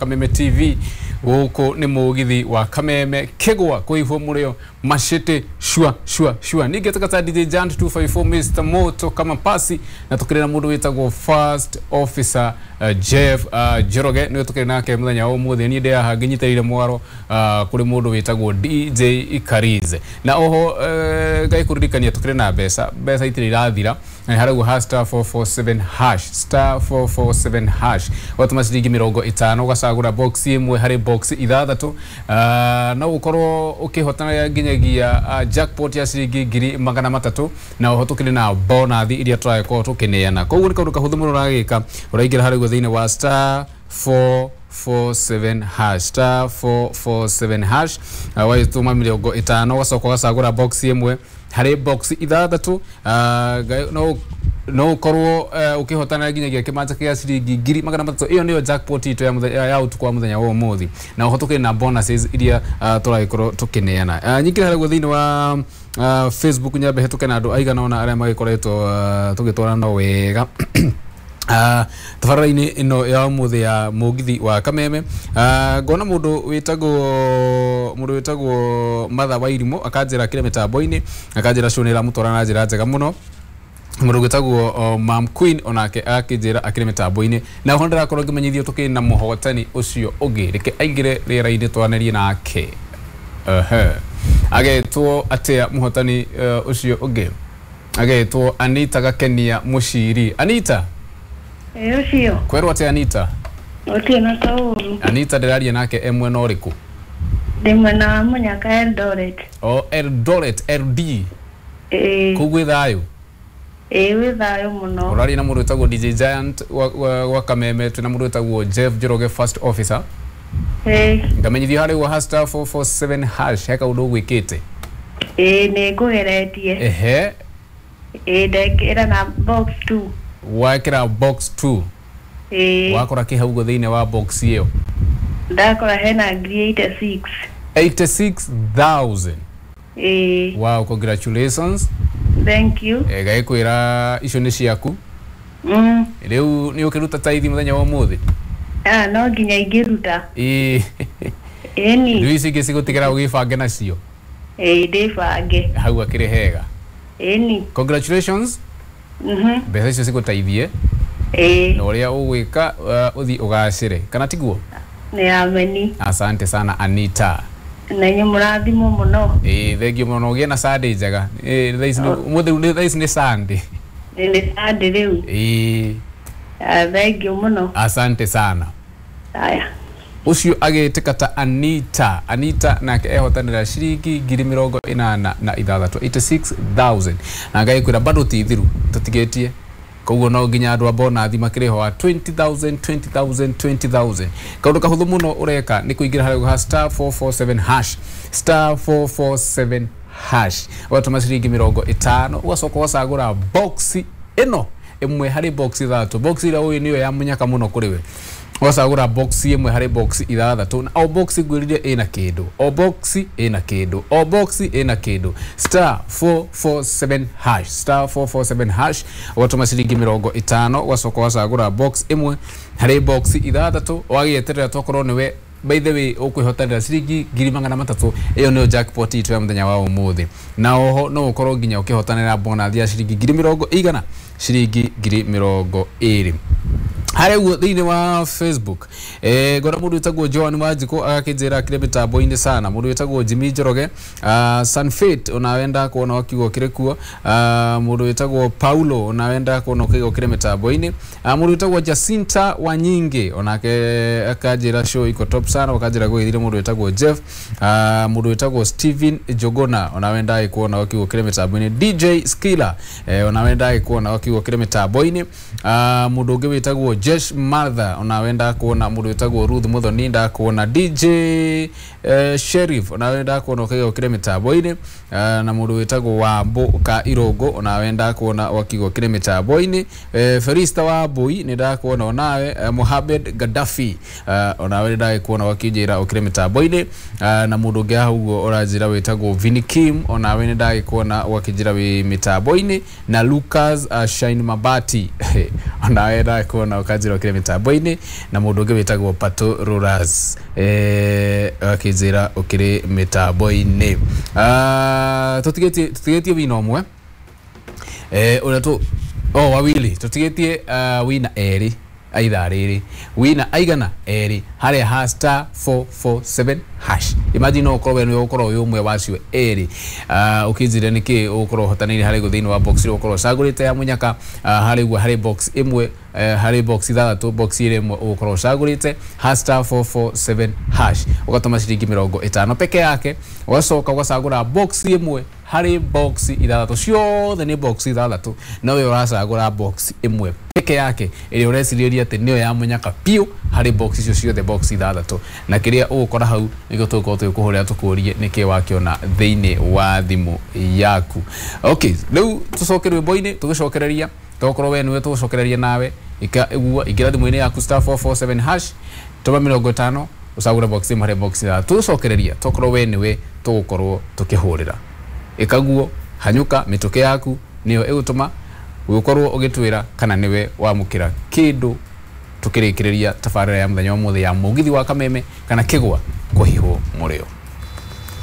Kameme TV gũkũ nĩ mũgithi wa Kameme Kĩgwa kũihwo mũrĩo macĩtĩ shua shua shua. Ningĩ tũkata DJ Jant 254 Mr Moto kama pasi na tũkĩrĩ na mũndũ wĩtagwo First Officer Jeff Njoroge nĩwe tũkĩrĩ nake mũthenya wa ũmũthĩ. Niĩ ndĩ haha ngĩnyitĩrĩire mwaro kũrĩ mũndũ wĩtagwo DJ Karize na oho ngai kũririkania tũkĩrĩ na mbeca mbeca itirĩ irathira na harauguo ha star 447 hash star 447 hash watũma ciringi 50 ũgacagũra box ĩmwe harĩ box ithathatũ no ũkorwo ũkĩhotana nginyagia jackpot ya ciringi 300,000 na oho tũkĩrĩ na bonathi iria tũragĩkorwo tũkĩneana. Koguo nĩ kaũndũ kahũthũ mũno ũragĩka ũraingĩra harĩa ũguo thĩinĩ wa star 447 hash star 447 hash wagĩtũma 50 ũgacoka ũgacagũra box ĩmwe harĩ box ithathatũ no ũkorwo ũkĩhotana nginyagia kĩmanja kĩa ciringi 300,000. Ĩyo nĩyo jackpot itũ ya mũthenya ya ũtukũ wa mũthenya wa ũmũthĩ na oho tũkĩrĩ na bonuses iria tũragĩkorwo tũkĩneana. Nyingĩre harĩa ũguo thĩinĩ wa Facebook nyambe hetũke na andũ aigana ũna arĩa magĩkoretwo tũgĩtwarana wega tabarĩra-inĩ ĩno ya ũmũthĩ ya mũgithi wa Kameme. Ngona mũndũ wĩtagwo Martha Wairimũ akanjĩra akĩrĩ mĩtambo-inĩ akanjĩra show nĩ ĩramũtwara na njĩra njega mũno. Mũndũ wĩtagwo Mam Queen onake akĩnjĩra akĩrĩ mĩtambo-inĩ na oho ndĩrakorwo ngĩmenyithio tũkĩrĩ na mũhotani ũcio ũngĩ. Reke aingĩre rĩera-inĩ twaranĩrie nake. Agetwo atĩa mũhotani ũcio ũngĩ? Agetwo Anita Gakenia Mũciri. Anita, ũcio kwerwo atĩa Anita? Gũtirĩ na kaũru. Anita ndĩraria nake e mwena ũrĩkũ? Ndĩ mwena wa Mũnyaka Eldoret. O Eldoret LD. Ĩĩ. Kũu gwĩ thayũ? Ĩĩ gwĩ thayũ mũno. Ũraria na mũndũ wĩtagwo DJ Giant wa Kameme, twĩna mũndũ wĩtagwo Jeff Njoroge First Officer. Ĩĩ. Ngamenyithio harĩa ũguo ha star 447 hash he kaũndũ ũgwĩkĩte. Ĩĩ nĩ ngũgeretie. Ehe. Ĩĩ ndekĩra na box 2. Wekĩra box 2. Ĩĩ. Wakora kĩ hau ũguo thĩinĩ wa box ĩyo? Ndakora hena 86,000. 86,000. Ĩĩ. Wow, congratulations. Thank you. Ngagĩkwĩra icio nĩ ciaku. Rĩu nĩ ũkĩruta taithi mũthenya wa ũmũthĩ? No nginya ingĩruta. Ĩĩ. Ĩni. Rĩu ici ingĩ cigũtigĩra ũgĩbange nacio. Ĩĩ ndĩbange. Hau akĩrĩ hega. Ĩni. Congratulations. Mbeca icio cigũteithie. Ĩĩ. Na ũrĩa ũgwĩka ũthiĩ ũgacĩre kana tiguo? Nĩ ameni. Asante sana Anita. Na inyuĩ mũrathimwo mũno. Ĩĩ thengiũ mũno ũgĩe na Sunday njega. Ĩĩ thaa ici ũmũthĩ thaa ici nĩ Sunday. Nĩ Sunday rĩu. Ĩĩ. Thengiũ mũno. Asante sana. Haya. Ũcio agĩtĩka ta Anita. Anita nake ehotanĩra ciringi 86,000 86,000 na ngagĩkwĩra bado ti thiru tũtigĩtie. Koguo no nginya andũ a bonathi makĩrĩ ho a 20,000 20,000 20,000. Kaũndũ kahũthũ mũno ũreka nĩ kũingĩra harĩa ha star 447 hash star 447 hash ũgatũma ciringi 50 ũgacoka ũgacagũra box ĩno ĩmwe harĩ box ithathatũ. Box ĩrĩa ũĩ nĩyo ya mũnyaka mũno kũrĩ we. Ũgacagũra box ĩmwe harĩ box ithathatũ na o box ngwĩrire ĩna kĩndũ, o box ĩna kĩndũ, o box ĩna kĩndũ. Star 447 hash star 447 hash ũgatũma ciringi 50 ũgacoka ũgacagũra box ĩmwe harĩ box ithathatũ ũgagĩeterera tokorwo nĩwe by the way ũkwĩhotanĩra ciringi 300,000. Ĩyo nĩyo jackpot itũ ya mũthenya wa ũmũthĩ na oho no ũkorwo nginya ũkĩhotanĩra bonathi ya ciringi 100,000 ciringi 20,000. Harĩa ũguo thĩinĩ wa Facebook ngona mũndũ wĩtagwo Joan Wanjikũ agakĩnjĩra akĩrĩ mĩtambo-inĩ sana. Mũndũ wĩtagwo Jimmy Njoroge Sanfit onawe ndakuona wakiuga ũkĩrĩ kuo. Mũndũ wĩtagwo Paulo onawe ndakuona ũkiuga ũkĩrĩ mĩtambo-inĩ. Mũndũ wĩtagwo Jacinta Wanyingi onake akanjĩra show iko top sana, akanjĩra gwĩthire mũndũ wĩtagwo Jeff. Mũndũ wĩtagwo Steven Jogona onawe ndagĩkuona wakiuga ũkĩrĩ mĩtambo-inĩ. DJ Skiller onawe ndagĩkuona wakiuga ũkĩrĩ mĩtambo-inĩ. Mũndũ ũngĩ wĩtagwo Jesh Martha onawe ndakuona. Mũndũ wĩtagwo Ruth Muthoni ndakuona. DJ Sheriff onawe ndakuona ũkiuga ũkĩrĩ mĩtambo-inĩ. Na mũndũ wĩtagwo Wambũ ka Irongo onawe ndakuona wakiuga ũkĩrĩ mĩtambo-inĩ. Felista Wambui nĩ ndakuona onawe. Mohamed Gaddafi onawe nĩ ndagĩkuona wakĩnjĩra ũkĩrĩ mĩtambo-inĩ. Na mũndũ ũngĩ hau ũguo ũranjĩra wĩtagwo Vinny Kim onawe nĩ ndagĩkuona wakĩnjĩra wĩ mĩtambo-inĩ. Na Lucas Shine Mabati onawe ndagĩkuona Ũkanjĩra ũkĩrĩ mĩtambo-inĩ, na mũndũ ũngĩ wĩtagwo Pato Roras akĩnjĩra ũkĩrĩ mĩtambo-inĩ. Tũtigĩtie wina ũmwe ũrĩa tũ oh wawili tũtigĩtie wina erĩ aithaa rĩrĩ wina aigana erĩ harĩa ha star 447 hash. Imagine no ũkorwo we nĩwe ũkorwo wĩ ũmwe wacio erĩ. Ũkĩnjĩra nĩkĩ ũgũkorwo ũhotanĩire harĩ thĩinĩ wa box ĩrĩa ũkorwo ũcagũrĩte ya mũnyaka, harĩ guo harĩ box ĩmwe, harĩ box ithathatũ, box ĩrĩa ĩmwe ũgũkorwo ũcagũrĩte ha star 447 hash, ũgatũma ciringi 50 peke yake, ũgacoka ũgacagũra box ĩmwe harĩ box ithathatũ, ciothe nĩ box ithathatũ, no we ũracagũra box ĩmwe peke yake ĩrĩa ũrecirĩria atĩ nĩyo ya mũnyaka biũ harĩ box icio ciothe box ithathatũ, na kĩrĩa ũgũkora hau nĩkĩo tũgũkorwo tũgĩkũhũrĩra tũkũrie nĩkĩ wakĩona thĩinĩ wa thimũ yaku. Okay, rĩu tũcoke rwĩmbo-inĩ tũgĩcokereria, tokorwo we nĩwe tũgũcokereria nawe ika iguo ingĩra thimũ-inĩ yaku star 447 hash, tũma 50 ũcagũre box ĩmwe harĩ box ithathatũ, tũgũcokereria tokorwo we nĩwe tũgũkorwo tũkĩhũrĩra. Ĩkaguo hanyũka mĩtũkĩ yaku nĩyo ĩgũtũma ũgĩkorwo ũgĩtwĩra kana nĩwe wamũkĩra kĩndũ tũkĩrĩkĩrĩria tabarĩra ya mũthenya wa ũmũthĩ ya mũgithi wa Kameme kana kĩgwa kũhihwo mũrĩo.